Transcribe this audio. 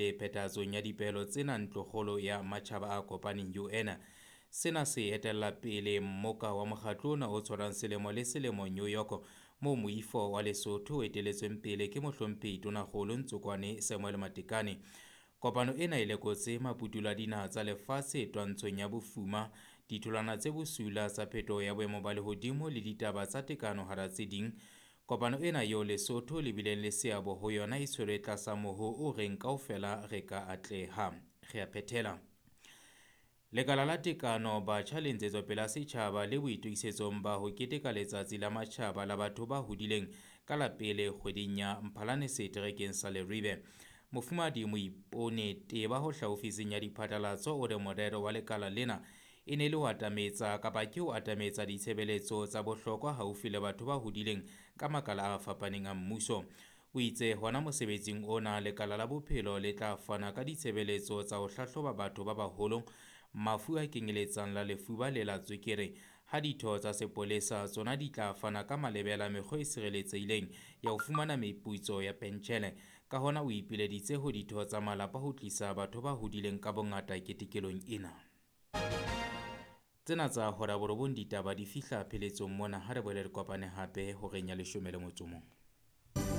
pele phethahatsong ya dipehelo tsena Ntlokgolo ya Matjhaba a Kopaneng UN. Sena se etella pele mmoka wa mokgatlo ona o tshwarang selemo le selemo New York, moo moifo wa Lesotho o eteletsweng pele ke mohlomphehi Tonakgolo Ntsokwane Samuel Matekane. Kopano ena e lekotse maputulo a dinaha tsa lefatshe twantshong ya bofuma, ditholwana tse bosula tsa phetoho ya boemo ba lehodimo le ditaba tsa tekano hara tse ding. Kopano ena eo Lesotho le bileng le seabo ho yona e tshwerwe tlasa moho o reng kaofela re ka atleha. Re a phethela. Lekala la Tekano, Batjha le Ntshetsopele ya Setjhaba le boitokisetsong ba ho keteka Letsatsi la Matjhaba la Batho ba Hodileng ka la pele kgweding ya Mphalane seterekeng sa Leribe. Mofumahadi Moipone Teba ho hlaha ofising ya diphatlalatso o re morero wa lekala lena e ne le ho atametsa kapa ke ho atametsa ditshebeletso tsa bohlokwa haufi le batho ba hodileng ka makala a fapaneng a mmuso. O itse hona mosebetsing ona lekala la bophelo le tla fana ka ditshebeletso tsa ho hlahloba batho ba baholo mafu a kenyeletsang la lefuba le la tswekere, ha ditho tsa sepolesa tsona di tla fana ka malebela mekgwa e sireletsehileng ya ho fumana meputso ya pentjhele. Ka hona o ipileditse ho ditho tsa malapa ho tlisa batho ba hodileng ka bongata ketekelong ena. Tsena tsa hora borobong ditaba di fihla pheletsong mona, ha re boele re kopane hape horeng ya 11.